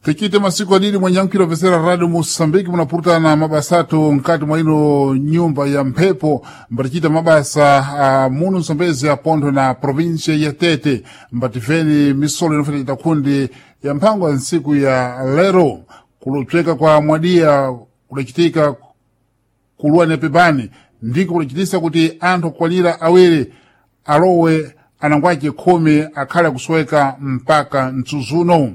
Tichite masiku adili mwenyankhwira opesera Radio Moçambique munapurutana mabasa athu mkati mwa ino nyumba ya mphepo, mbatichita mabasa a muno Msambezi apontho na província ya Tete, mbatifeni misolo inofeta chita khundi ya mphango ya ntsiku ya lero. Kulupseka kwa mwadiya kudachitika kuluwa pepani ndiko kudachitisa kuti anthu okwanira awiri alowe anangwace 10 akhale akusoweka mpaka mtsudzuno.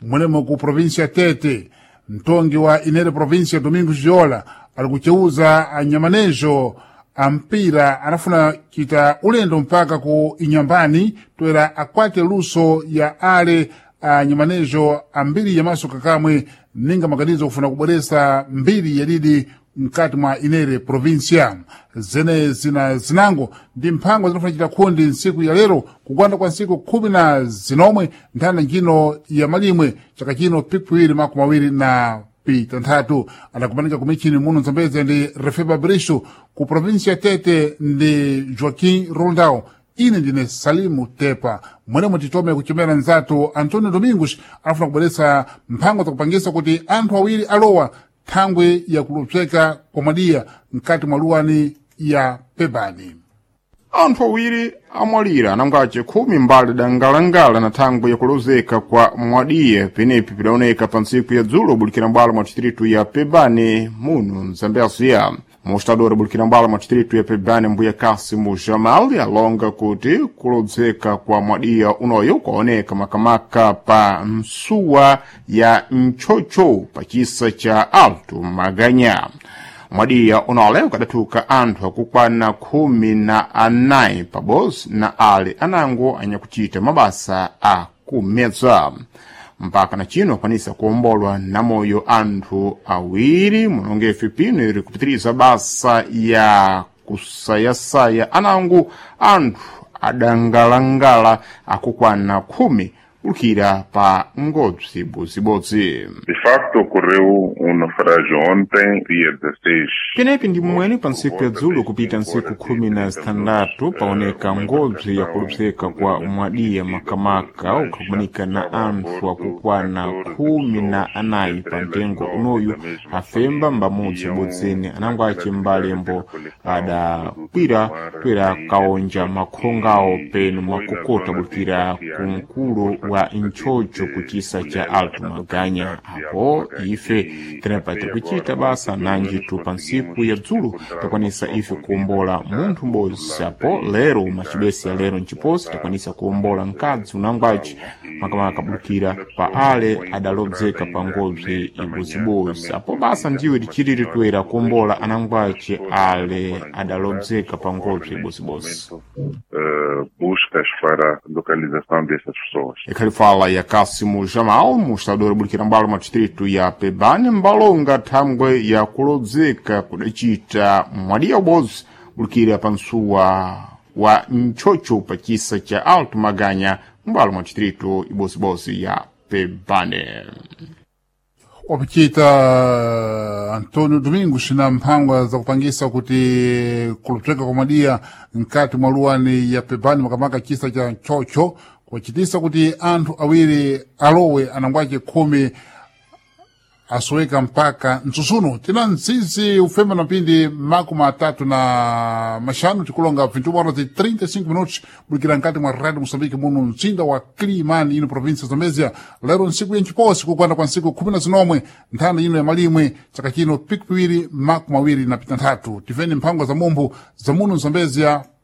Mwenemo ku província Tete, mtongi wa inere província Domingos Viola ali kuceuza anyamanejo a mpira anafuna chita ulendo mpaka ku Inyambani toera akwate luso ya ale anyamanejo ambiri yamaso kakamwe ninga maganizo kufuna kubweresa mbiri yadidi mkati mwa inere província. Zene zina zinango ndi mphango zinafuna chita khundi ntsiku ya lero kugwanda kwa ntsiku 19 nthanda njino ya malimwe chaka chino pikwiri 2026. Adakumanika kumichini muno Mzambezi ndi Refeba Brisho ku província Tete ndi Joaquim Rondao. Ine ndine Salimu Tepa. Mwenemo titome kuchemera nzathu Antonio Domingos afuna kubweretsa mphango zakupangisa kuti anthu awiri alowa thangwe yakulupseka kwa mwadiya mkati mwa luwani ya Pebani. Anthu awiri amwalira anangace 10 mbali dangalangala na thangwe yakulozeka kwa mwadiye penepi pidaoneka pa ntsiku ya dzulo bulikira mbwalo mwa distritu ya Pebane muno Mzambezia. Mostador bulikira mbwalo mwa distritu ya Pebane mbuya Kasimu Jamal alonga kuti kulodzeka kwa mwadiya unoyo kwaoneka makamaka pa msuwa ya Nchocho pa chisa cha Alto Maganya. Mwadiya unole ukadathuka anthu akukwana 14 pabodzi na ale anango anyakuchita mabasa a kumedza. Mpaka na chino akwanisa kuombolwa na moyo anthu awiri munongefe pino iri kupitiriza basa ya kusayasaya anango anthu adangalangala akukwana 10 kulukira pa ngodzi ibodzibodzi. De facto, ocorreu naufrágio ontem, dia 16. Penepi ndi mmwene pa ntsiku ya dzulo kupita ntsiku 16 paoneka ngodzi yakulupseka kwa mwadiya makamaka ukhakumanika na anthu akukwana 14 pa mtengo unoyu afemba mbamudzi ubodzene anango ace mbalembo adakwira toera kaonja makhongawo penu makokota bulukira kumkulu wa Nchocho kuchisa cha Alto Maganya. Apo ife tinapata kuchita basa nanjitu pa ntsiku ya dzulo takwanisa ife kuombola munthu m'bodzi. Apo lero macibesi ya lero mciposi takwanisa kuombola mkadzi unangwaci makamaka kabulukira pa ale adalodzeka pa ngobzi ibodzibodzi. Apo basa ndiwe tichitire toera kuombola anangwaci ale adalodzeka pa ngobzi ibodzibodzi. Buscas para a localização dessas pessoas. Ikhalifala ya Kasimu Jamal, mostrador bulikira mbalo mwa distritu ya Pebane, mbalonga thangwe ya kulodzeka kudacita mwadiya ubodzi bulikira pa msuwa wa Nchocho pa chisa cha Alto Maganya mbalo mwa distritu ibodzibodzi ya Pebane. Wapichita Antonio Domingos na mphangwa zakupangisa kuti kulupseka kwa mwadiya mkati mwa luwani ya Pebani makamaka chisa cha Nchocho kwachitisa kuti anthu awiri alowe anangwace 10 asoweka mpaka mtsutsuno. Tina mtsitsi ufema na mpindi 35 tikulonga 21 horas 35 minutos bulikira mkati mwa Radio Moçambique muno mtsinda wa Climane ino província Zambezia. Lero ntsiku ya nciposi kukwanda kwa ntsiku 19 nthanda ino ya malimwe chaka chino pikipiwiri 20 na pitanthatu. Tiveni mphango za mumbu za muno Zambezia